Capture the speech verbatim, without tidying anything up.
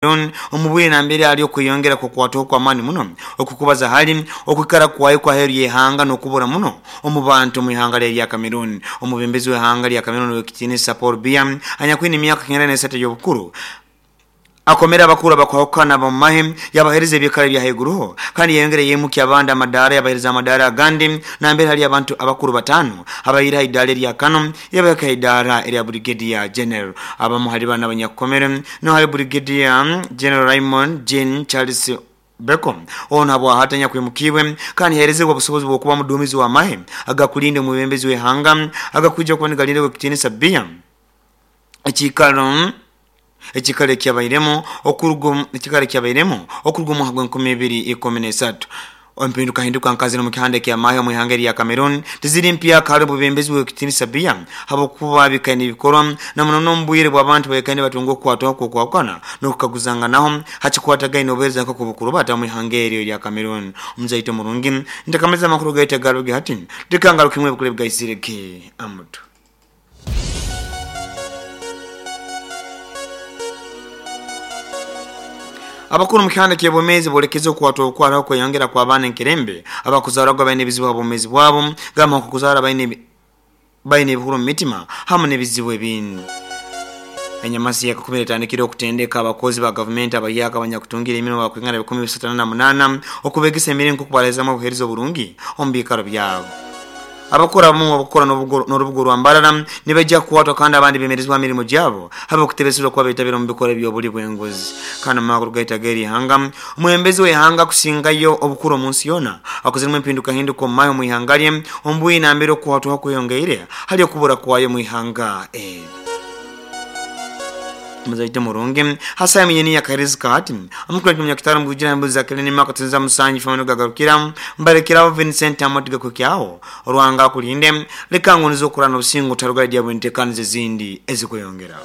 Omubwire nambere ali okweyongera kukwataho kw'amaani muno okukubaza hali okwikara kwayo kwaheeru y'ihanga n'okubura muno omu bantu omu ihanga lya Cameroon. Omubembezi w'ihanga lya Cameroon ow'ekitiinisa Paul Biya anyakwine emyaka kenda n'esatu ey'obukuru akomera abakuru abakwahukana ab'omumahe yabaheereza ebyekara ebya haiguruho kandi yayongera yeimukya abandi amadaara yabaheereza amadaara agandi nambere hali abantu abakuru bataano abaire ha idaara erya kano yabahika ha idaara erya Brigadier General. Abamu hali bano abanyakukomere no hali Brigadier General Raymond Jean Charles Beko ono habwahati anyakwimukibwe kandi yaheerezebwa obusobozi bw'okuba muduumizi w'amahe agakulinda omwebembezi w'ihanga agakwija kuba nigalinda ow'ekitiinisa Biya ekiikaro ekikaro ekyabairemu okuruga ekikaro ekyabairemu okuruga omwaka gw'enkumi ibiri ikumi n'esatu. Empinduka hinduka nkazino mu kihanda eky'amahe omu ihanga erya Cameroon tiziri mpyaka hali obwebembezi bw'ekitiinisa Biya habwokuba bikaire nibikorwa na muno n'omu bwire bw'abantu baikaire nibatunga okukwatwaho kw'okwahukana n'okukaguzanganaho hakikwatagaine n'obuheereza nk'oku bata omu ihanga eryo erya Cameroon. Omuzaito murungi ntakamaliza amakuru gaitu agaruge hati tikangaruka imwe ebikuru ebigaisirege amutu. Abakuru mu kihanda ky'obwomeezi boolekeze okukwatwa obukwataho kweyongera kw'abaana enkerembe abakuzarwaga baine ebizibu ha bwomeezi bwabo gamba nk'okuzaara baine baine ebihuro mu mitima hamu n'ebizibu ebindi. Enyamasi yakakumi etandikire okutendeka abakozi ba gavumenti abahyaka abanyakutungira emirimo bakwingana bikumi bisatu na munaana okubegesa emirimo nk'okubareezamu obuheereza oburungi omu biikaro byabo. Abakora abamu abakukora n'orubuga rwa Mbarara nibaija kukwatwa kandi abandi bemerezibwa ha mirimo gyabo habw'okutebesebwa kuba betabire omu bikorwa eby'obuli bw'enguzi. Kandi omu makuru gaitu ag'erihanga omwebembezi w'ihanga akusingayo obukuru omu nsi yoona akoziremu empindukahinduka omu mahe omu ihanga lye omu bwire nambere okukwatwaho kweyongeire hali okubura kwayo omu ihanga eri. Muzaite murungi hasa mwenyini yakaheereza hati omukuru munyakitaro mugujira embuzi za keleni maka tuza musanji famano gagarukira mbarekeraho Vincent Amotiga kukyaho orwanga kulinde leka ngonizo okurana obusingo tarugara dyabwe entekanizo ezindi ezikweyongera.